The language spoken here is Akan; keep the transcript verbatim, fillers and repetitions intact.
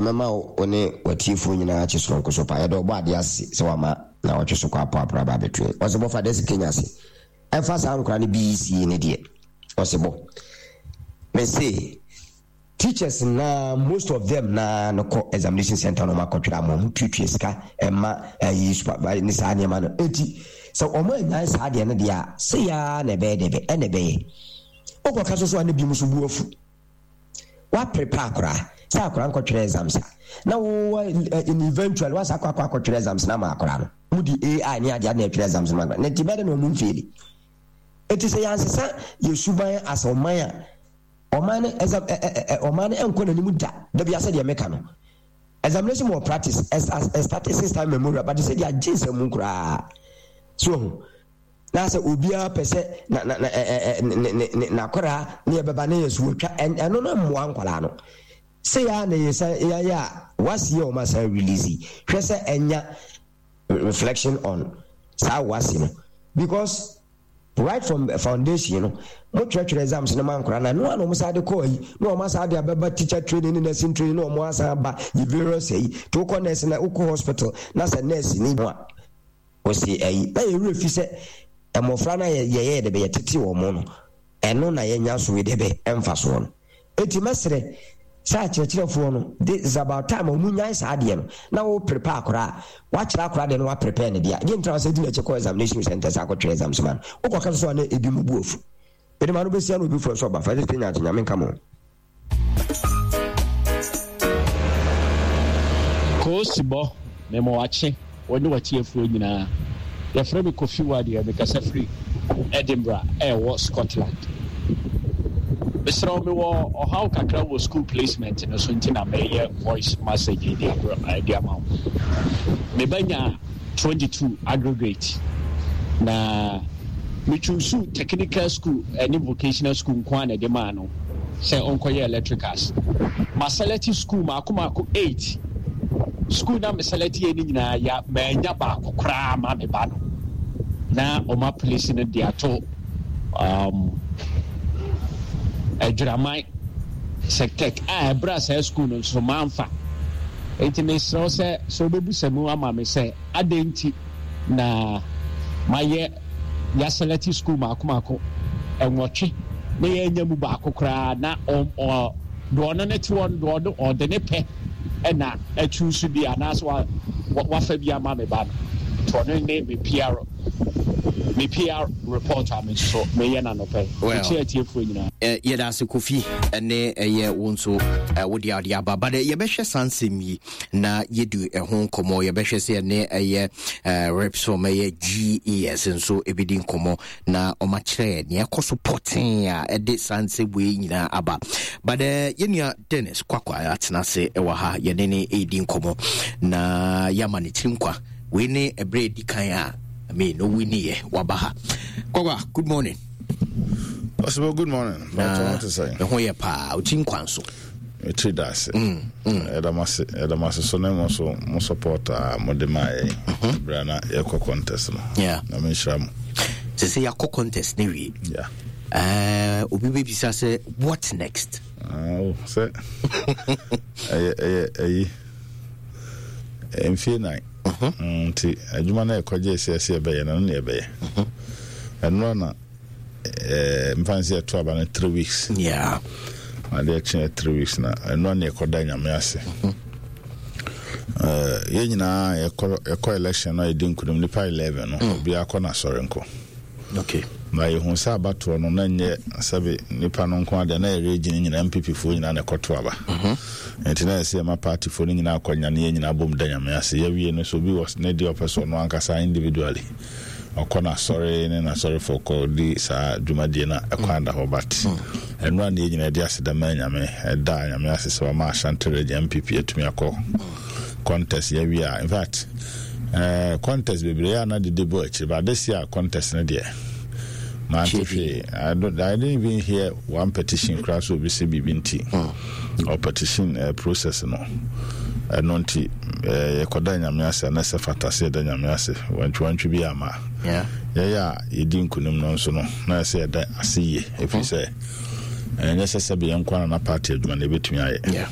Mɛma wo ne watiefoɔ nyinaa akye soronko so paa. Yɛde ɔbɔ adeɛ ase sɛ wama na wɔtwe so kɔ apɔ apra ba abɛtue. Ɔsɛ bɔfa dɛ sɛ Kenya ase ɛfa saa nkora no B E C ne deɛ ɔsɛ bɔ mese teachers na most of them na no kɔ examination center no, ɔmo akɔtwerɛ ama ɔmo tuatua sika ɛma ɛyi supervise ne saa nneɛma no. Eti sɛ ɔmo anyan saa deɛ no deɛ a, sɛ yaa na ɛbɛyɛ dɛ ɛna ɛbɛyɛ wokɔka so so a, ne bi mu so bu afu. Waprepare akora sɛ akora nkɔtwerɛ exams a, na wo in eventually wasa akɔ akɔ akɔtwerɛ exams na ma akora no mu di A I ne adeɛ na ɛtwerɛ exams no ma akora na nti bɛyɛ dɛ na ɔmo mfail. Eti sɛ yansesa yɛ suban asɛ ɔman a, ɔman no exam ɛ ɛ ɛ ɔman no ɛnkɔ n'anim da. Dabi asɛ deɛ meka no, examination malpractice ɛ start since time memorial, but sɛ deɛ agye nsɛm koraa so na sɛ obiara pɛ sɛ na na na ɛ ɛ ne ne ne n'akwaraa ne yɛbɛba ne yɛ so wɔtwa. Ɛno no mmoa nkwaraa no sɛ yɛa na yɛ sɛ yɛayɛ a wasi yɛ wɔn asan release. Hwɛ sɛ ɛnya reflection on saa wasi no, because right from foundation no, mo twerɛtwerɛ exams no ma nkwaraa na no a na wɔn san de kɔɔ yi na wɔn asan de abɛba teacher training ne nursing training na wɔn asan aba yi various ayi to wokɔ nurse na wokɔ hospital na sɛ nurse ni ho a wɔsi ayi na yɛ werɛ fi sɛ mmɔfra no a yɛyɛ de bɛ yɛtete wɔn no, ɛno na yɛnya so yi de bɛ ɛmfa soɔ no. Eti mɛsrɛ sɛ akyerɛkyerɛfoɔ no, this is about time a wɔn nyae saa adeɛ no na wɔ prepare akora a wakyerɛ akora deɛ no, wa prepare ne deɛ deɛ ntina sɛ di n'akyi kɔ examination center sɛ akɔtwerɛ exams ma no, wokɔka so so a na ebi mu bu afu. Ɛde ma no bɛsia na obi fo so ɔba fa ɛsɛ nya Nyame nka mo. Koosibɔ, mema wakye wɔne watiefoɔ nyinaa. Yɛfrɛ me Kofi Wadeɛ, mekasa firi Edinburgh ɛwɔ Scotland. Mesrɛ wo, mewɔ ɔhaw kakra wɔ school placement no so, nti na meyɛ voice message de abrɛ de ama wo. Mebɛnya twenty-two aggregate na metwusu technical school ɛne vocational school nko a na ɛde maa no sɛ ɔnkɔyɛ electricals. Ma select school maako maako eight school na me select yɛ ne nyinaa ya, maanya baako koraa ma me ba no na ɔma place no de ato um, Adwiraman Sectec a ɛberɛ a saa school no nso mamfa. Nti mesrɛ wo sɛ sɛ wobɛbusa mu ama me sɛ adɛn nti na mayɛ yɛaselect school maako maako ɛnwɔtwe na yɛanya mu baako koraa na deɛ ɔno ne te hɔ no, deɛ ɔno ɔde ne pɛ ɛna atu so bi anaasɛ wafa bi ama me ba no. Nti ɔno ne me P R, me P R report a me nso meyɛ no anɔpɛ. Mekyerɛ atiefoɔ nyinaa. Yɛda ase, Kofi, ɛne ɛyɛ wo nso wode ade aba, but yɛbɛhwɛ saa nsɛm yi na yɛdi ɛho nkɔmmɔ. Yɛbɛhwɛ sɛ ɛne ɛyɛ reps from ɛyɛ G E S nso ɛbɛdi nkɔmmɔ na ɔmakyerɛ nea ɛkɔ so pɔtee a ɛde saa nsɛm wei nyinaa aba. But uh, yɛnua Dennis Kwakwa atena ase ɛwɔ ha, yɛne ne ɛredi nkɔmmɔ na yɛama ne tiri nkwa. Wei ne ɛberɛ ɛdi kan a, I mean, no winiyɛ waba ha. Kwakwa, good morning. Possible, good morning. Na ɛho yɛ paa, wokyi nkwa nso? Metiri da ase. Ɛda mo ase, ɛda mo ase so ne mo so mo support a mode maa yɛn berɛ a na yɛkɔ contest no. Yeah. Na menhyira mo. Sɛ sɛ yɛakɔ contest ne wie, Yeah. uh, obi bɛbisa sɛ what next? Ah, oh, sɛ ɛyɛ ɛyɛ ɛyi mfie nan Mm, nti adwuma no ɛkɔgye sɛ ɛsɛ yɛbɛyɛ no, no ne yɛbɛyɛ ɛnora na eh, mfa n sɛ yɛto aba no three weeks. Yeah. Adeɛ kyeɛ three weeks na ɛnora ne yɛkɔda Nyame ase. Eh, yɛn nyinaa yɛkɔ yɛkɔ election no a, yɛdi nkunim nipa eleven no, obiara kɔ n'asɔre nkɔ. Okay. Na yɛhu sɛ abatoɔ no na nyɛ sɛbe nipa no nko adeɛ, na yɛre gyina nyinaa N P P foɔ nyinaa na ɛkɔto aba, nti na yɛsɛ yɛma partyfoɔ no nyinaa akɔnya ne yɛn nyinaa bom da Nyame ase. Yɛwie no so, obi wɔ ne deɛ ɔpɛ sɛ ɔno ankasa individually ɔkɔ n'asɔre ne n'asɔrefoɔ kɔ di saa dwumadie no a, ɛkwan da hɔ. But ɛno a ne yɛn nyinaa de aseda ma Nyame, ɛda Nyame ase sɛ wama Ashanti Region N P P atumi akɔ contest. Yɛwie a, in fact, uh, contest bebree a na dede bɔ akyiri, but this year contest no deɛ, mante hwee. I, don't, I didn't even hear one petition koraa so obi sɛ biribi nti or petition uh, process no. Ɛno nti uh, yɛkɔda Nyame ase a, na sɛ fata sɛ yɛda Nyame ase wantwiwantwi bi ama Yeah. yɛyɛ a yɛdi nkonim no nso no, na ɛsɛ yɛda ase yie, ɛfiri sɛ ɛnyɛ sɛ sɛbe yɛn nkwa na na party adwuma no yɛbɛtumi ayɛ. Yeah.